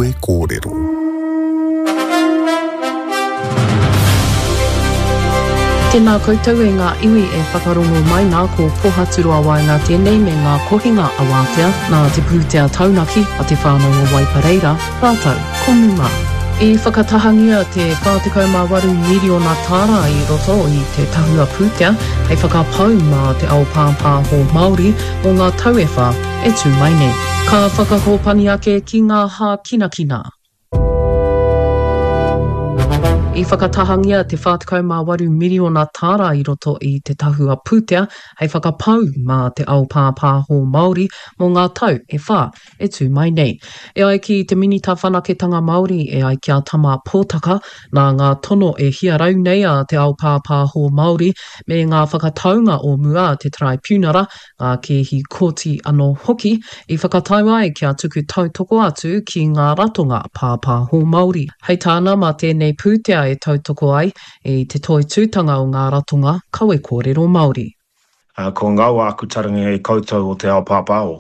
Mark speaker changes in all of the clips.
Speaker 1: Kawe Kōrero.
Speaker 2: Tēnā koutou e ngā iwi e whakarongo mai nā ko Pohaturoa Waenga tēnei me ngā kohinga a Wātea nā te pūtea taunaki a te whānau o Waipareira rātou ko Muma. I whakatahangia te 48 miriona tāra i roto i te tahua pūtea hei whakapau mā te ao pāpāho Māori mō ngā tau e whā e tū mai nei. Ka whakakōpani ake ki ngā hākinakina. I whakatahangia te 48 miriona tāra i roto i te tahua pūtea hei whakapau mā te ao pāpāho Māori mō ngā tau e whā e tū mai nei. E ai ki te Minita Whanaketanga Māori, e ai ki a Tama Potaka, nā ngā tono e hia rau nei a te ao pāpāho Māori me ngā whakataunga o mua a te Taraipiunara ngā kēhi kōti anō hoki, i whakatau ai kia tuku tautoko atu ki ngā ratonga pāpāho Māori. Hei tāna, mā tēnei pūtea e tautoko ai i te toitūtanga o ngā ratonga kawe kōrero Māori.
Speaker 3: Kua ngaua aku taringa e koutou o te ao pāpāho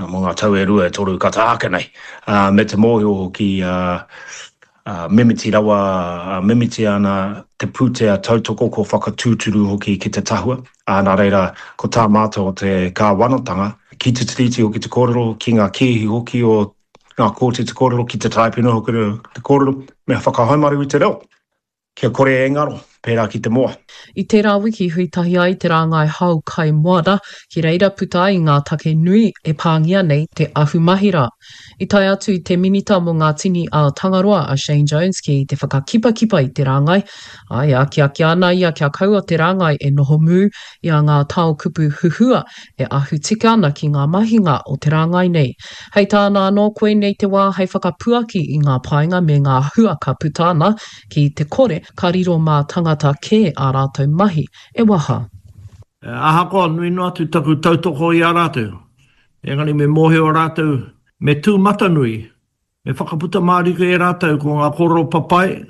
Speaker 3: mō ngā tau e rua e toru ka taha ake nei, me te mōhio hoki mimiti rawa, mimiti ana te pūtea tautoko kua whakatūturu hoki ki te tahua, ā, nā reira, ko tā mātou o te kāwanatanga, ki te Tiriti hoki te kōrero, ki ngā kēhi hoki o ngā kōti te kōrero, ki te Taraipiunara hoki te kōrero, me whakahaumaru i te reo. Kia kore e ngaro, pērā ki te moa.
Speaker 2: I tērā wiki hui tahi ai te rāngai hao kai moana, ki reira puta ai ngā take nui e pāngia nei te ahumahira. I tae atu te Minita mō ngā Tini a Tangaroa a Shane Jones ki te whakakipakipa i te rāngai, ā, e akiaki ana ia kia kaua te rāngai e noho mū i a ngā tao kupu huhua e ahu tika ana ki ngā mahinga o te rāngai nei. Hei tāna anō, koinei te wā hei whakapuaki i ngā painga me ngā hua ka puta ana Ki te kore, ka riro mā tangata kē ā rātou mahi e waha.
Speaker 4: Ahakoa nui noa atu taku tautoko i a rātou, engari me mōhio rātou, me tūmatanui, me whakaputa mārika e rātou ko ngā kōrero papai,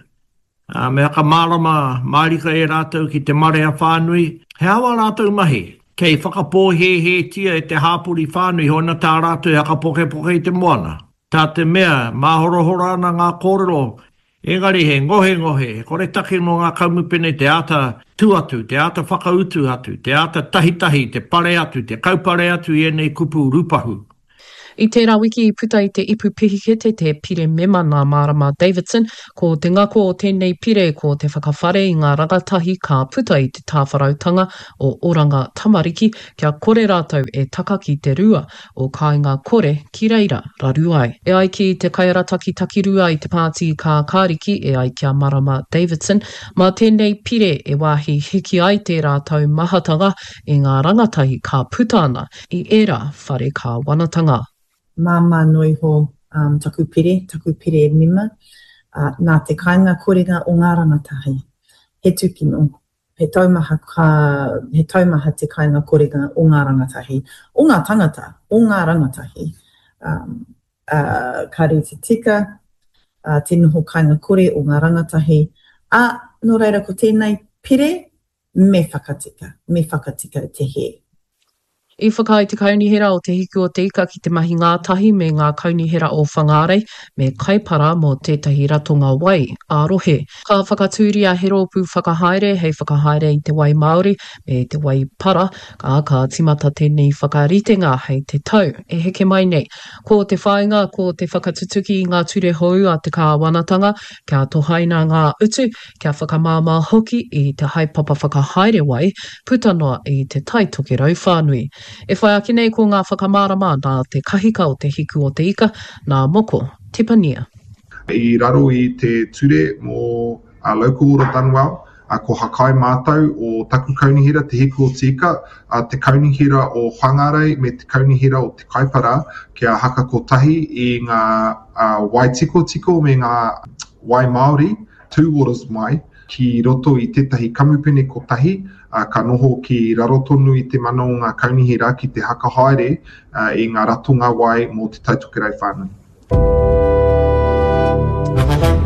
Speaker 4: ā, me whakamārama mārika e rātou ki te marea whānui, he aha wā rātou mahi, kei whakapōhēhētia e te hāpori whānui hoina tā rātou e whakapokepoke i te moana. Tā te mea, māhorahora ana ngā kōrero, engari he ngohengohe, he koretake nō ngā kamupene te āta tū atu, te āta whakautu atu, te āta tahitahi, te pare atu, te kaupare atu i ēnei kupu rūpahu.
Speaker 2: I tērā wiki i puta i te Ipu Pihikete te pire mema nā Marama Davidson, ko te ngako o tēnei pire ko te whakawhare i ngā rangatahi ka puta i te tāwharautanga o Oranga Tamariki kia kore rātou e taka ki te rua o Kāinga Kore ki reira raru ai. E ai ki te kaiarataki takirua i te Pāti Kākāriki, e ai ki a Marama Davidson, mā tēnei pire e wāhi hiki ai tērā taumahatanga i ngā rangatahi ka puta ana i ērā whare kāwanatanga.
Speaker 5: Māmā noa iho taku pire, taku pire mema, nā te kāinga korenga o ngā rangatahi. He tūkino. He taumaha ka, he taumaha te kainga korenga o ngā rangatahi, o ngā tangata, o ngā rangatahi. Um, uh, kāre te tika, uh, te noho kainga kore o ngā rangatahi. Ā, nō reira ko tēnei pire, me whakatika, me whakatika te hē.
Speaker 2: I whakaae te Kaunihera o Te Hiku o Te Ika ki te mahi ngātahi me ngā kaunihera o Whangārei me Kaipara mō tētahi ratonga wai ā-rohe. Ka whakatūria he rōpū whakahaere hei whakahaere i te wai māori me te wai para, ā, ka tīmata tēnei whakaritenga hei te tau e heke mai nei. Ko te whāinga ko te whakatutuki i ngā ture hou a te kāwanatanga kia tohaina ngā utu, kia whakamāmā hoki i te haepapa whakahaere wai puta noa i Te Tai Tokerau whānui. E whai ake nei ko ngā whakamārama nā te kahika o Te Hiku o Te Ika, nā Moko Tepania.
Speaker 6: I raro i te ture mō Local Order Done Well, ko Hakai mātou o taku kaunihera Te Hiku o Te Ika, te kaunihera o Whangarei me te kaunihera o Te Kaipara kia haka kotahi i ngā wai tikotiko me ngā wai Māori Two Waters mai ki roto i tētahi kamupene kotahi, ā, ka noho ki raro tonu i te mana o ngā kaunihera ki te hakahaere i ngā ratonga wai mō Te Tai Tokerau whānui.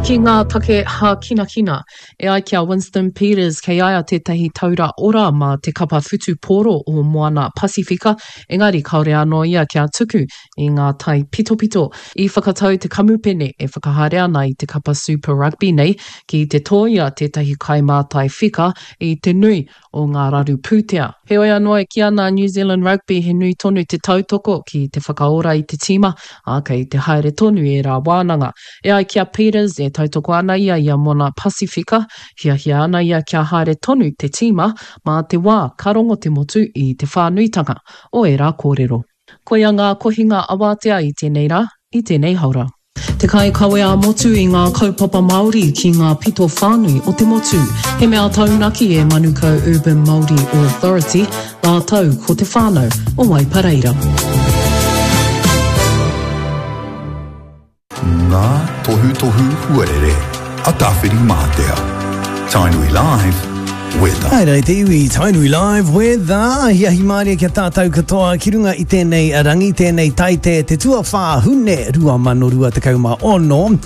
Speaker 2: Ki ngā take hākinakina, e ai ki a Winston Peters kei a ia tētahi taura ora mā te kapa whutupōro o Moana Pasifika, engari kāore anō ia kia tuku i ngā taipitopito. I whakatau te kamupene e whakahaere ana i te kapa Super Rugby nei ki te tōia tētahi kaimātai whika i te nui o ngā raru pūtea. Heoi anō e kī ana a New Zealand Rugby he nui tonu te tautoko ki te whakaora i te tīma, ā, kei te haere tonu ērā wānanga. E ai ki a Peters, e tautoko ana ia i a Moana Pasifika, hiahia ana ia kia haere tonu te tīma mā te wā ka rongo te motu i te whānuitanga o ērā kōrero. Koia ngā kohinga awatea i tēnei rā, i tēnei haora. Te kaikawe ā-motu i ngā kaupapa Māori ki ngā pito whānui o te motu. He mea taunaki e Manukau Urban Māori Authority rātou ko te whānau o Waipareira.
Speaker 1: Ngā tohutohu huarere a Tāwhirimātea. Tainui Live, Weather.
Speaker 7: Haere te iwi, Tainui Live Weather. Ahiahi mārie kia tātou katoa ki runga i tēnei rangi, tēnei taite, te tuawhā Hune 2026.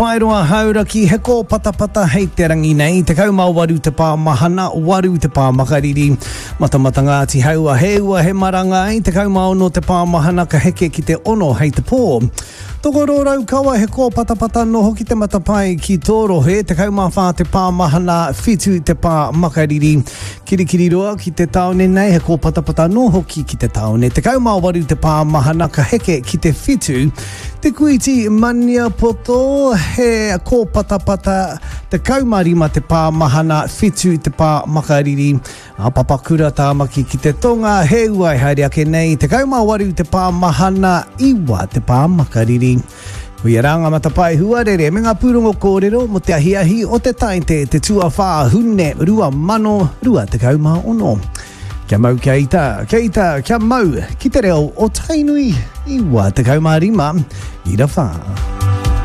Speaker 7: Paeroa Hauraki, he kōpatapata hei te rangi nei, 18 te pā mahana, 8 te pā makariri. Matamata Ngāti Haua, he ua, he marangai, 16 te pā mahana ka heke ki te 6 hei te pō. Tokoro Raukawa, he kōpatapata anō hoki te matapae ki tō rohe, 14 te pā mahana, 7 te pā makariri. Kirikiriroa ki te tāone nei, he kōpatapata anō hoki ki te tāone, 18 te pā mahana ka heke ki te 7. Te Kuiti Maniapoto, he kōpatapata, 15 te pā mahana, 7 te pā makariri. A Papakura Tāmaki ki te tonga, he ua e haere ake nei, 18 te pā mahana, 9 te pā makariri. Koia rā ngā matapae huarere me ngā pūrongo kōrero mō te ahiahi o te Taite te tuawhā Hune 2026. Kia mau kia ita, kia ita, kia mau ki te reo o Tainui 95 ira whā.